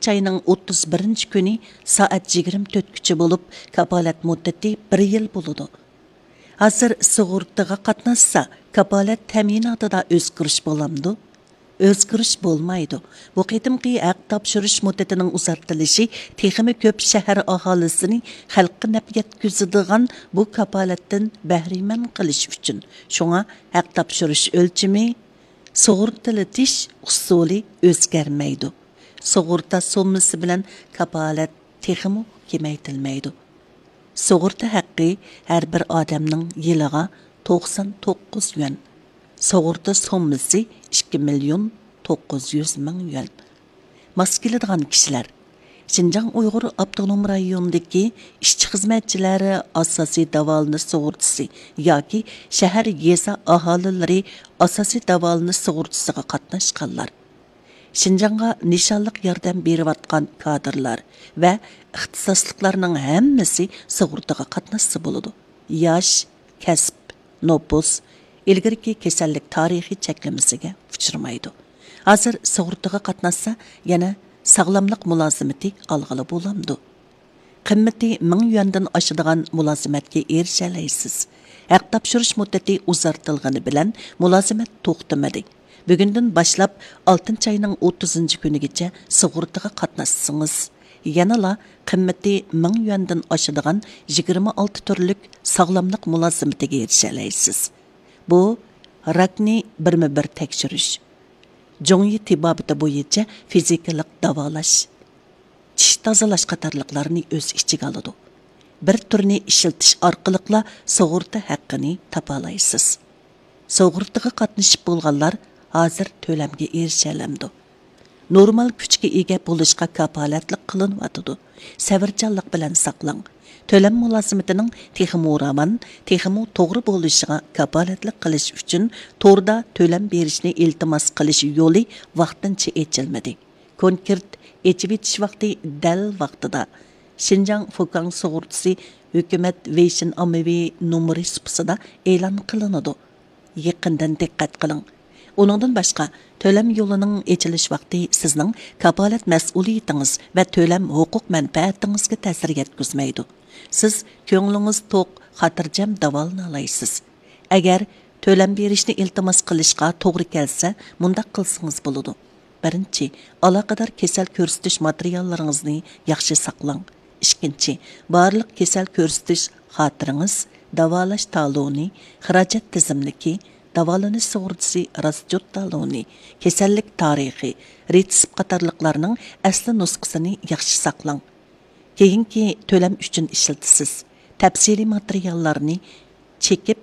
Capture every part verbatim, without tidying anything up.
ئالتىنچى ئاينىڭ ئوتتۇز بىرىنچى كۈنى سائەت يىگىرمە تۆتكىچە بولۇپ، كاپالەت مۇددىتى بىر يىل بولىدۇ. ھازىر سۇغۇرتىغا قاتناشسا، كاپالەت تەمىناتىدا ئۆزگىرىش بولامدۇ؟ ئۆزگىرىش بولمايدۇ. بۇ قېتىمقى ھەق تاپشۇرۇش مۇددىتىنىڭ ئۇزارتىلىشى تېخىمۇ كۆپ شەھەر ئاھالىسىنى خەلققە نەپ يەتكۈزىدىغان بۇ كاپالەتتىن بەھرىمەن قىلىش ئۈچۈن. شۇڭا ھەق تاپشۇرۇش ئۆلچىمى، سۇغۇرتىلىتىش ئۇسۇلى ئۆزگەرمەيدۇ. سۇغۇرتا سوممىسى بىلەن كاپالەت تېخىمۇ كېمەيتىلمەيدۇ. سۇغۇرتا ھەققى ھەر بىر ئادەمنىڭ يىلىغا توقسان توققۇز يۈەن، سۇغۇرتا سوممىسى ئىككى مىليون توققۇز يۈز مىڭ يۈەن. ماس كېلىدىغان كىشىلەر، شىنجاڭ ئۇيغۇر ئاپتونوم رايونىدىكى ئىشچى-خىزمەتچىلەر، ئاساسىي داۋالىنىش سۇغۇرتىسى ياكى شەھەر، يېزا ئاھالىلىرى ئاساسىي داۋالىنىش سۇغۇرتىسىغا قاتناشقانلار، شىنجاڭغا نىشانلىق ياردەم بېرىۋاتقان كادىرلار ۋە ئىختىساسلىقلارنىڭ ھەممىسى سۇغۇرتىغا قاتناشسا بولىدۇ. ياش، كەسىپ، نوپۇس، ئىلگىرىكى كېسەللىك تارىخى چەكلىمىسىگە ئۇچرىمايدۇ. ھازىر سۇغۇرتىغا قاتناشسا، يەنە ساغلاملىق مۇلازىمىتى ئالغىلى بولامدۇ؟ قىممىتى مىڭ يۈەندىن ئاشىدىغان مۇلازىمەتكە ئېرىشەلەيسىز. ھەق تاپشۇرۇش مۇددىتى ئۇزارتىلغىنى بىلەن مۇلازىمەت توختىمىدى. بۈگۈندىن باشلاپ ئالتىنچى ئاينىڭ ئوتتۇزىنچى كۈنىگىچە سۇغۇرتىغا قاتناشسىڭىز، يەنىلا قىممىتى مىڭ يۈەندىن ئاشىدىغان يىگىرمە ئالتە تۈرلۈك ساغلاملىق مۇلازىمىتىگە ئېرىشەلەيسىز. بۇ راكنى بىرمۇ بىر تەكشۈرۈش، جۇڭيى تېبابىتى بويىچە فىزىكىلىق داۋالاش، چىش تازىلاش قاتارلىقلارنى ئۆز ئىچىگە ئالىدۇ. بىر تۈرنى ئىشلىتىش ئارقىلىقلا سۇغۇرتا ھەققىنى تاپالايسىز. سۇغۇرتىغا قاتنىشىپ بولغانلار ھازىر تۆلەمگە ئېرىشەلەمدۇ؟ نورمال كۈچكە ئىگە بولۇشقا كاپالەتلىك قىلىنىۋاتىدۇ. سەۋرچانلىق بىلەن ساقلاڭ. تۆلەم مۇلازىمىتىنىڭ تېخىمۇ راۋان، تېخىمۇ توغرا بولۇشىغا كاپالەتلىك قىلىش ئۈچۈن توردا تۆلەم بېرىشنى ئىلتىماس قىلىش يولى ۋاقتىنچە ئېچىلمىدى. كونكرېت ئېچىۋېتىش ۋاقتى دەل ۋاقتىدا. شىنجاڭ فۇكاڭ سۇغۇرتىسى ھۆكۈمەت ۋېيشىن ئاممىۋى نومۇرى سۇپىسىدا ئېلان قىلىنىدۇ. يېقىندىن دىققەت قىلىڭ. ئۇنىڭدىن باشقا، تۆلەم يولىنىڭ ئېچىلىش ۋاقتى سىزنىڭ كاپالەت مەسئۇلىيىتىڭىز ۋە تۆلەم ھوقۇق مەنپەئەتىڭىزگە تەسىر يەتكۈزمەيدۇ. سىز كۆڭلىڭىز توق، خاتىرجەم داۋالىنالايسىز. ئەگەر تۆلەم بېرىشنى ئىلتىماس قىلىشقا توغرا كەلسە، مۇنداق قىلسىڭىز بولىدۇ. بىرىنچى، ئالاقىدار كېسەل كۆرسىتىش ماتېرىياللىرىڭىزنى ياخشى ساقلاڭ. ئىككىنچى، بارلىق كېسەل كۆرسىتىش خاتىرىڭىز، داۋالاش تالونى، خىراجەت تىزىملىكى، داۋالىنىش سۇغۇرتىسى راسچوت تالونى، كېسەللىك تارىخى، رېتسېپ قاتارلىقلارنىڭ ئەسلى نۇسخىسىنى ياخشى ساقلاڭ. كېيىنكى تۆلەم ئۈچۈن ئىشلىتىسىز. تەپسىلىي ماتېرىياللارنى چېكىپ،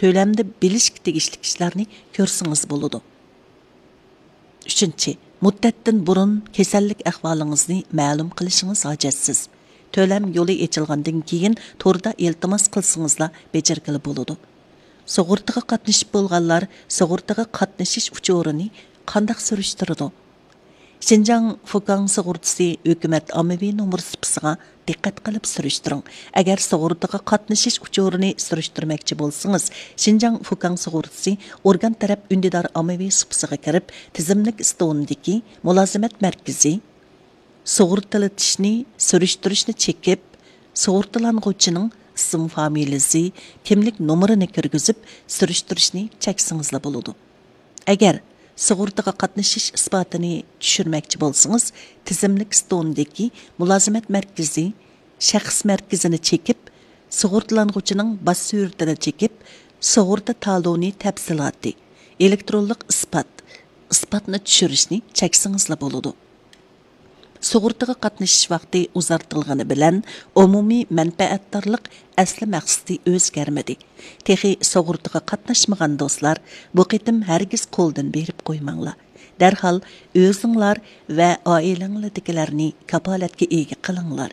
تۆلەمدە بىلىشكە تېگىشلىك ئىشلارنى كۆرسىڭىز بولىدۇ. ئۈچىنچى، مۇددەتتىن بۇرۇن كېسەللىك ئەھۋالىڭىزنى مەلۇم قىلىشىڭىز ھاجەتسىز. تۆلەم يولى ئېچىلغاندىن كېيىن توردا ئىلتىماس قىلسىڭىزلا بېجىرگىلى بولىدۇ. سۇغۇرتىغا قاتنىشىپ بولغانلار سۇغۇرتىغا قاتنىشىش ئۇچۇرىنى قانداق سۈرۈشتۈرىدۇ؟ شىنجاڭ فۇكاڭ سۇغۇرتىسى ھۆكۈمەت ئاممىۋى نومۇر سۇپىسىغا دىققەت قىلىپ سۈرۈشتۈرۈڭ. ئەگەر سۇغۇرتىغا قاتنىشىش ئۇچۇرىنى سۈرۈشتۈرمەكچى بولسىڭىز، شىنجاڭ فۇكاڭ سۇغۇرتىسى ئورگان تەرەپ ئۈندىدار ئاممىۋى سۇپىسىغا كىرىپ، تىزىملىك ئىستونىدىكى مۇلازىمەت مەركىزى سۇغۇرتىلىتىشنى، سۈرۈشتۈرۈشنى چېكىپ، سۇغۇرتىلانغۇچىنىڭ ئىسىم فامىلىسى، كىملىك نومۇرىنى كىرگۈزۈپ، سۈرۈشتۈرۈشنى چەكسىڭىزلا بولىدۇ. ئەگەر سۇغۇرتىغا قاتنىشىش ئىسپاتىنى چۈشۈرمەكچى بولسىڭىز، تىزىملىك ئىستونىدىكى مۇلازىمەت مەركىزى شەخس مەركىزىنى چېكىپ، سۇغۇرتىلانغۇچىنىڭ باش سۈرىتىنى چېكىپ، سۇغۇرتا تالونى تەپسىلاتى، ئېلېكترونلۇق ئىسپات، ئىسپاتنى چۈشۈرۈشنى چەكسىڭىزلا بولىدۇ. سۇغۇرتىغا قاتنىشىش ۋاقتى ئۇزارتىلغىنى بىلەن ئومۇمىي مەنپەئەتدارلىق ئەسلى مەقسىتى ئۆزگەرمىدى. تېخى سۇغۇرتىغا قاتناشمىغان دوستلار، بۇ قېتىم ھەرگىز قولدىن بېرىپ قويماڭلار. دەرھال ئۆزۈڭلار ۋە ئائىلەڭلەردىكىلەرنى كاپالەتكە ئىگە قىلىڭلار.